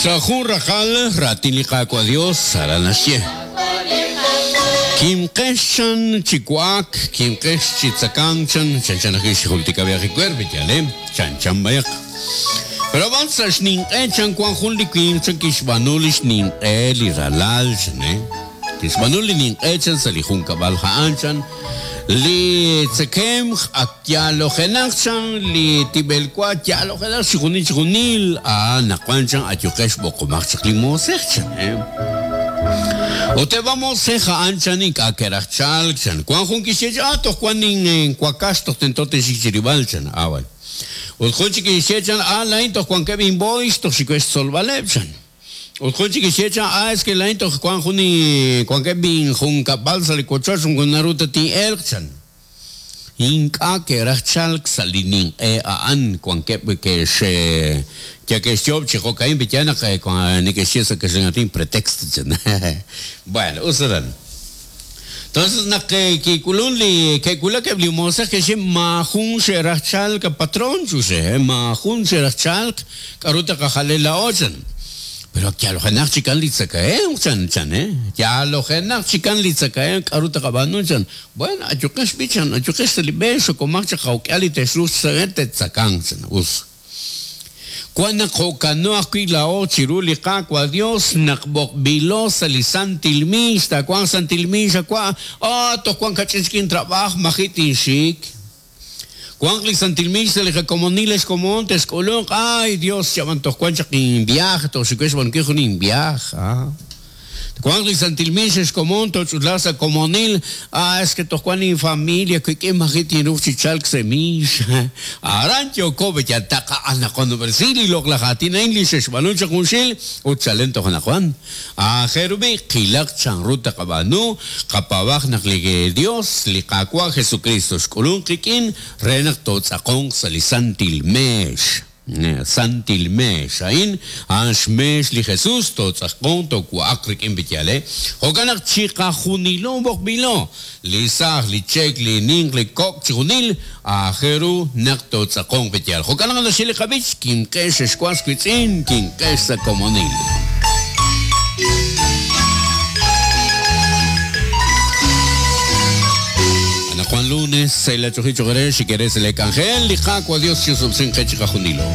Sa' jun raqal raatin li Qaawa' Dios aran naxye, Kimqex chan chi wa'ak, kimqex chi tzakank chan, chanchan ajwi' xjultika b'ayaq li cuerpo, yaal eh, chanchan b'ayaq. Pero ab'an sa' xninq'e chan wan jun li winq chan kixb'aanu li xninq'e li ralal chan eh. Kixb'aanu li ninq'e chan sa' li junkab'al ha'an chan, li tzekemq ak yaalojenaq chan, li tib'elwa yaalojenaq chixjunil chixjunil, anaqwan chan ayuqex b'oqomaq chaq li moosej chan. Ut eb' a moosej a'an chan ink'a' ke'raj chalk chan. Wan jun kixye chan, ah toj wan inwakax toj tento tinxik chi rilb'al chan. Ah wan. Ut jun chik kixye chan, ah laa'in toj wankeb' inb'ooyx toj xik we xtzolb'aleb' chan. Ut jun chik kixye chan, Ah, es que laa'in toj wank jun wankeb' injunkab'al sa' li wochoch moko naru ta tin'elq, chan. Ink'a' ke'raj chalk sa' li ninq'e a'an, wankeb' ke'x yal ke'xyoob' chi jo'ka'in, pe'yaal naq neke'xye sa' kaxlan aatin pretexto, chan. Bueno, us aran. Entonces naq kik'ulun li ke'wulak eb' li moosej ke'xye maajun xe'raj chalk a patron chuxe, maajun xe'raj chalk, k'aru taqajale laa'o chan. Pero ak yalojenaq chikan li tzakahemq chan chan eh, yalojenaq chikan li tzakahemq k'aru taqab'aanu chan. Bueno, ayuqex b'i chan, ayuqex sa' li b'e, xokomaq chaq jawk'ihal li texruuq chi te'tzakanq chan, us. Wan naq jo'kano ajwi' laa'o chiru li Qaawa' Dios naq b'oqb'ilo sa' li santil miix, taawanq santil miix awa', Ah, toj wan kach'in chik intrab'aaj, maji' tinxik. Wanq li santil miix sa' li qakomonil ex komon, texk'ulunq, Ay, Dios, chab'an toj wan chaq inviaje, toj xik we xb'aanunkil jun inviaje. Ah. Twanq li santil miix ex komon, tooch'utlaaq sa' komonil. Ah, es que toj wank linfamilia wik'in maji' tinruuq chi chalk sa' miix. Aran yooko be yal taqa'anaqonob'resi li loq'laj aatin a'in li xe'xb'aanu chaq junxil ut chalen toj anaqwan. Aajel ru b'i' qilaq chanru taqab'aanu, qapaab'aq naq li Dios, li Qaawa' Jesukristo xk'ulunk qik'in re naq tootz'aqonq sa' li santil meex. Santil meex. A'in, a'an xmeex li Jesús, tootz'aqonq, toowa'aq rik'in b'iyale. Jo'kan naq chiqajunilo b'oqb'ilo, li saaj, li cheek, li ninq, li kok', chijunil, aajel ru naq tootz'aqonq b'iyal. Jo'kan naq naxye li qab'ich, Kimqex ex was wiitz'in, kimqex sa' komonil. Anaqwan lunes, sahil ach'oji choq' eere, xik eere sa' lee k'anjel, li Qaawa' Dios chi'osob'sinq qe chiqajunilo.